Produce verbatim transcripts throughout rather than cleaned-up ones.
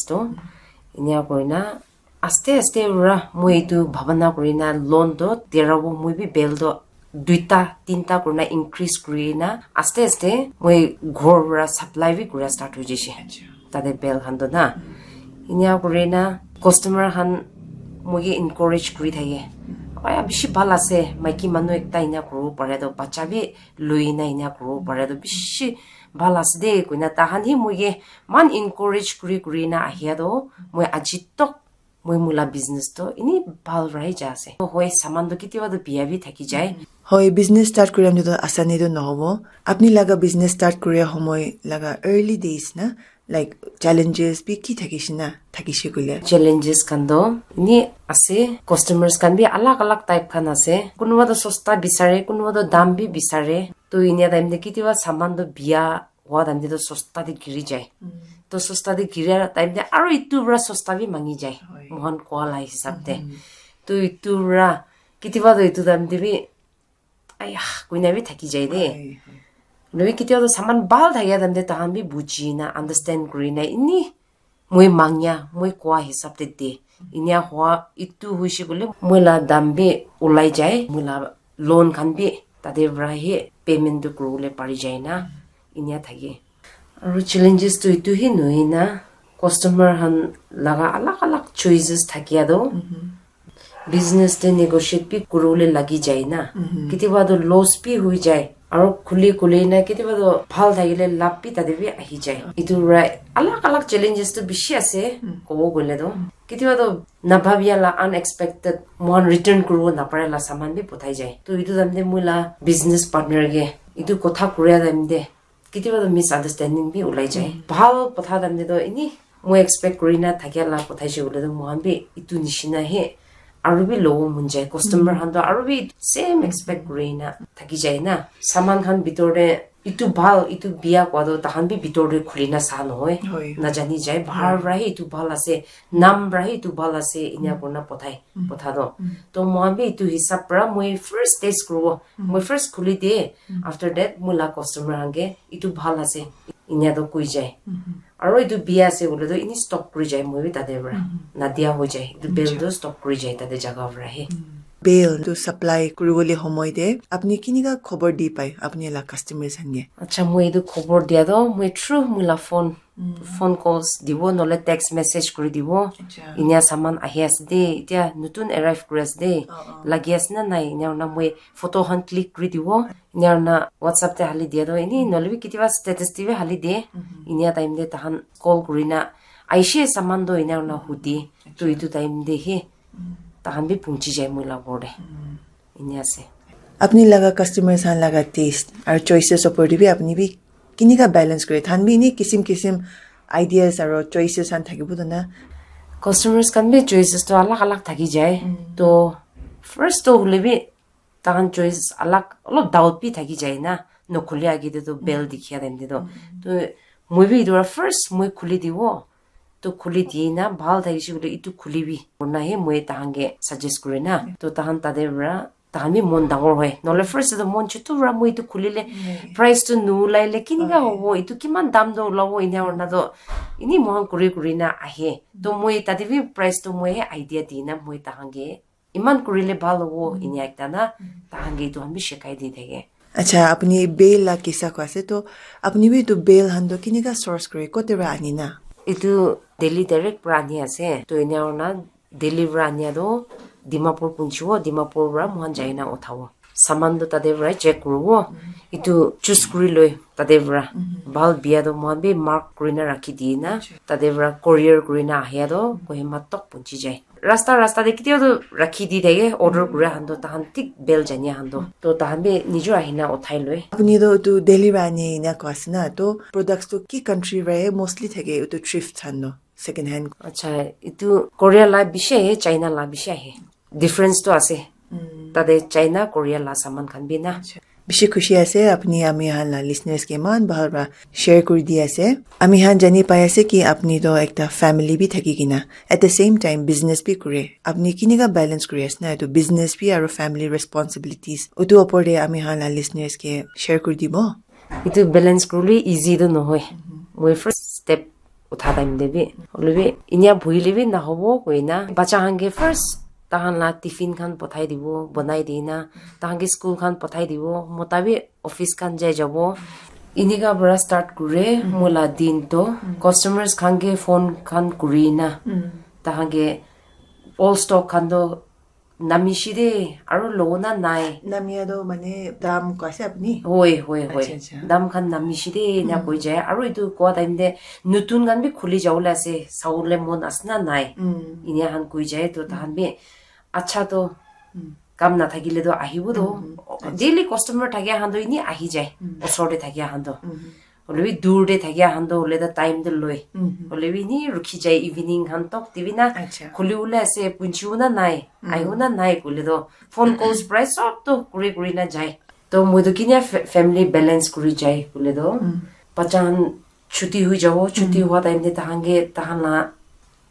to inia kurina aste aste ra moi etu bhabana kurina loan to terabo moi bi bel to duita tinta kurina increase kurina aste aste moi ghor ra supply bi kura start hoi jaise. Tate bel khan to na inia kurina customer khan moi ke encourage kuri thake. Aya bishi bhal ase, maiki manu ekta inia kuribo pare to, bacha bi loi na inia kuribo pare to bishi bhal ase de koina tahan hi moi ke man encourage kuri kuri na ahia to moi aji tok moi mula business to ini bhal rai ja ase. Hoi saman to kitiba to biya bi thaki jai. Hoi, business start kuram to asani to nohobo. Apni laga business start kure homoi laga early days na, like, challenges bi ki thakishe na, thakishe koile? Challenges khan to ini ase, customers khan bi alag alag type khan ase. Kunuba to sosta bisare, kunuba to dam bi bisare. To inia time te kitiba saman to biya hua time te to sosta te giri jai. To sosta te giri time te aro itu pra sosta bi mangi jai. Mohan koa la hisab te. To itu pra kitiba to itu time te bi aya koina bi thaki jai de. Nobi kitiba to saman bhal thakia time te tahan bi buji na understand kuri na ini moi mangya moi koa hisab te de. Inia hua itu huishe koile moi la dam bi ulai jai, moi la loan khan bi tate pra hi payment tu kuribole pari jai na inia thake. Aru challenges tu itu hi nohoi na customer khan laga alag alag choices thakia tu business te negotiate bi kuribole lagi jai na. Kitiba tu loss bi hui jai. Aro khuli khuli na kitiba to bhal thakile lab bi tate bi ahi jai. Itu right, alag alag challenges to bishi ase, kobo koile to. Kitiba to nabhabia la unexpected mohan return kuribo napare la saman bi pothai jai. To itu time te moi la business partner ke itu kotha kuria time te kitiba to misunderstanding bi ulai jai. Bhal kotha time te to ini moi expect kuri na thakia la kotha hoise koile to mohan bi itu nishina he aru bi lobo mon jai. Customer khan to aru bi same expect kuri na thaki jai na. Saman khan bitor te itu bhal, itu biya koa to tahan bi bitor te khuli na sa nohoi. Najani jai, bahar pra hi itu bhal ase, nam pra hi itu bhal ase, inia kurina pothai, potha to. To mohan bi itu hisab pra moi first test kuribo. Moi first khuli de, after that moi la customer khan ke itu bhal ase, inia to koi jai. Aro itu biya ase koile to ini stop kuri jai, moi bi tate pra nadia hoi jai. Itu bel to stop kuri jai tate jaga pra he. Bel tu supply kuribole homoi te apni kinika khobor di pai apni la customers khan ke? Acha, moi itu khobor dia to moi through moi la phone, phone calls dibo, nohole text message kuri dibo. Inia saman ahi ase de, itia nutun arrive kuri ase de, lagi ase na nai, inia kurina moi photo khan click kuri dibo. Inia kurina WhatsApp te hali dia to ini, nohole bi kitiba status te bi hali de. Inia time te tahan call kurina aishe saman to inia kurina hudi. To itu time te he tahan bi punchi jai moi la ghor te. Ini ase. Apni laga customers khan laga taste aru choices opor te bi apni bi kinika balance kure? Than bi ini kisim kisim ideas aru choices khan thakibo to na. Customers khan bi choices to alag alag thaki jai. To first to hule bi tahan choice alag, olop doubt bi thaki jai na, nokhuli age te to bel dikhia time te to. To moi bi itu pra first moi khuli dibo. To khuli di na bhal thakishe koile itu khuli bi kurina he moi tahan ke suggest kuri na. To tahan tate pra tahan bi mon dangor hoi. Nohole first te to mon chutu pra moi itu khulile price to nulaile kinika hobo, itu kiman dam to ulabo, inia kurina to ini mohan kuri kuri na ahe. To moi tate bi price to moi he idea di na moi tahan ke iman kurile bhal hobo, inia ekta na, tahan ke itu khan bi shikai di thake. Acha, apni bel la kisa koi ase to, apni bi itu bel khan to kinika source kure, kote pra ani na? Itu Delhi direct pra ani ase. To inia kurina Delhi pra ania to Dimapur punchibo, Dimapur pra mohan jaina uthabo. Saman to tate pra check kuribo. Itu choose kuri loi tate pra. Bhal biya to mohan bi mark kurina rakhi di na. Tate pra courier kurina ahia to Kohima tok punchi jai. Rasta rasta te kitiba to rakhi di thake, order kuria khan to tahan thik bel jania khan to. To tahan bi nijor ahina uthai loi. Apni to etu Delhi pra ani ena koi ase na, to products to ki country pra he mostly thake etu thrift khan to, second hand? Acha, etu Korea la bishi ahe, China la bishi ahe. Difference to ase. Tate China, Korea la saman khan bi na. Bishi khushi ase apni ami khan la listeners ke eman bhal pra share kuri di ase. Ami khan jani pai ase ki apni toh ekta family bi thaki kena at the same time business bi kure. Apni kinika balance kuri ase na etu business bi aru family responsibilities? Utu opor te ami khan la listeners ke share kuri dibo. Etu balance kuribole easy toh nohoi. Moi first step Utha time te bi, hoile bi, inia buhile bi nahobo koina, bacha khan ke first tahan la tiffin khan pothai dibo, bonai dina, tahan ke school khan pothai dibo, mota bi office khan jai jabo. Inika para start kure, moi la din to, customers khan ke phone khan kuri na, tahan ke all stock khan to namishi de, aru lo na nai. Namia do mane dam ko ase apni? Hoi, hoi, hoi. Acha, acha. Dam khan namishi de, na koi jai. Aru itu koa time de, nutun khan bi khuli jawole ase, sawole mon ase na nai. Inia khan koi jai, to tahan bi, acha to, kam na thakile to ahibo to. Daily customer thakia khan to ini ahi jai, osor de thakia khan to. Hoile bi dur te thakia khan to hoile to time to loi. Hoile bi ni rukhi jai evening khan tok te bi na. Acha. Khuli wole ase, punchi wole nai, ahi wole nai koile to. Phone calls prai sob to kuri kuri na jai. To moi to kinia fa-, family balance kuri jai koile to. Bacha khan chuti hui jabo, chuti hua time te tahan ke, tahan la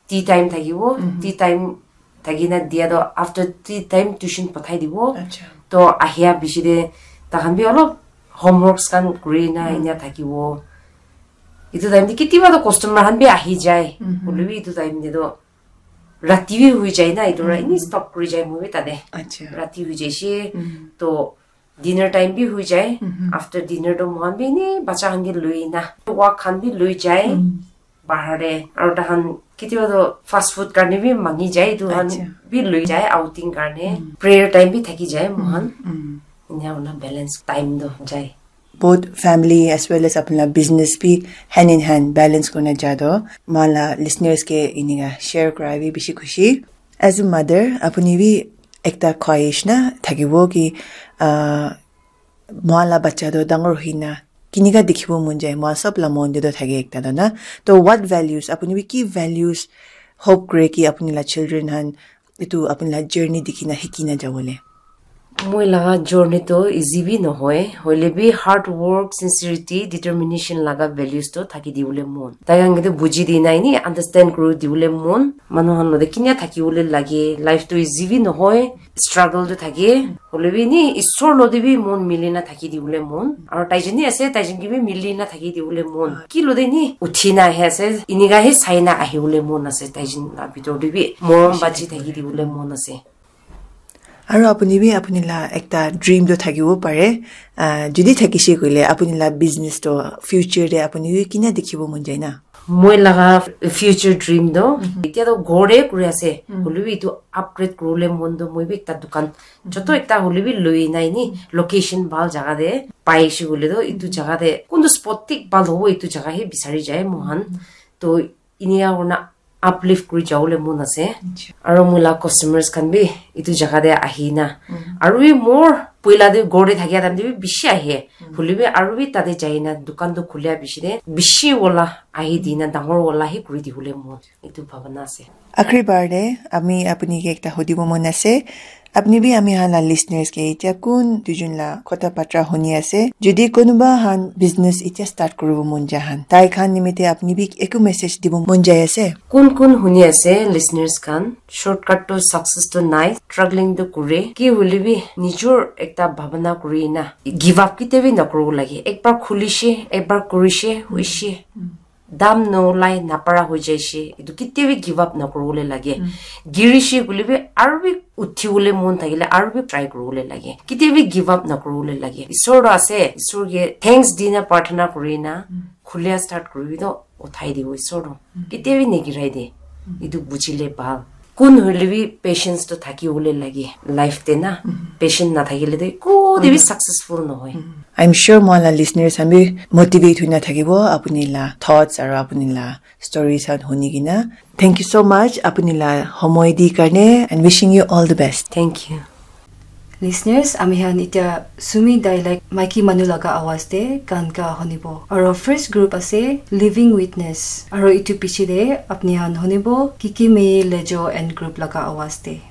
tea time thakibo, tea time thakina dia to after tea time tuition pathai dibo. Acha. To ahia bishi de tahan bi olop homeworks khan kuri na inia thakibo. Itu time de kitiba to customer khan bi ahi jai. Hoile bi itu time de to rati bi hui jai na, itu ra ini stop kuri jai moi bi tade. Acha. Rati hui jai shi. To dinner time bi hui jai. After dinner to mohan bi ni bacha khan ke lui na. Walk khan bi lui jai. Bahar de. Aru tahan kitiba to fast food karne bi mangi jai. Itu khan bi lui jai outing karne. Prayer time bi thaki jai mohan. Inia hona balance time to jai. Both family as well as apni la business bi hand in hand balance kurina ja to. Moi la listeners ke inika share kura bi bishi khushi. As a mother, apni bi ekta khwahish na thakibo ki, ah, moi la bacha to dangor hoina kinika dikhibo mon jai, moi sob la mon te to thake ekta to na. To what values, apni bi ki values hope kure ki apni la children han itu apni la journey dikhina hikina jawole? Moi laga journey to easy bi nohoi, hoile bi hard work, sincerity, determination laga values to thaki diwole mon. Tai khan ke to buji di nai ni, understand kuri diwole mon. Manu khan lote kinia thaki wole lage, life to easy bi nohoi, struggle to thake. Hoile bi ni, isor lote bi mon mili na thaki diwole mon. Aro tai jeni ase, tai jen ke bi mili na thaki diwole mon. Ki lote ni, uthi na ahi ase, inika he sai na ahi wole mon ase, tai jen la bitor te bi morom baji thaki diwole mon ase. Aru apuni bi apuni la ekta dream toh thakiwo pare. Ah, jodi thakishe koile apuni la business toh future te apuni bi kina dikhibo mon jai na? Moi laga future dream toh, mhm, etia toh ghor te kuri ase. Mhm. Hoilebi etu upgrade kuribole mon toh moi bi ekta dukan, mhm, joto ekta hoilebi loi nai ni, mhm, location bhal jaga te paishe koile toh etu, mhm, jaga te kuntu spot thik bhal hobo etu jaga he bisari jai moikhan. Mhm. Toh inika kurina uplift kuri jabole mon ase. Acha. Aro moi la customers khan bi etu jaga te ahi na. Mm. Aro bi more poila te ghor te thakia time te bi bishi ahe. Mm. Hoilebi aro bi tate jai na dukan toh khulia bishi te bishi wala ahi di na dangor wala he kuri dibole mon. Etu bhabana ase. Akhiri bar te ami apuni ke ekta hudibo mon ase. Apni bi ami khan la listeners ke etia kun duijun la kotha batra huni ase. Jodi kunuba khan business etia start kuribo mon ja khan, tai khan nimite apni bi eku message dibo mon jai ase? Kun kun huni ase listeners khan, shortcut to success to nai, struggling to kure. Ki hoilebi nijor ekta bhabana kuri na give up ketia bi nakuribo lage. Ekbar khulishe, ekbar kurishe, hoishe. Mm. Dam nolai napara hoi jaishe, etu ketia bi give up nakuribole lage. Mm. Girishe koile bi aru bi uthibole mon thakile aru bi try kuribole lage. Ketia bi give up nakuribole lage. Isor toh ase, Isor ke thanks di na prarthana kuri na, mm, khulia start kuribi toh uthai dibo Isor toh. Mm. Ketia bi nigirai de. Mm. Etu bujile bhal. Kun hoile bi patience toh thaki bole lage life te na. Mhm. Patient nathakile toh eko te bi, mhm, successful nohoi. Mhm. I'm sure moi la listeners khan bi motivate hoi na thakibo apuni la thoughts aro apuni la stories khan huni kena. Thank you so much apuni la homoi di karne and wishing you all the best. Thank you. Listeners, ami khan etia Sumi dialect maiki manu laga awaz te gan ga hunibo. Aro first group ase Living Witness. Aro etu piche te apni khan hunibo Kiki Mei Lejo and group laga awaz te.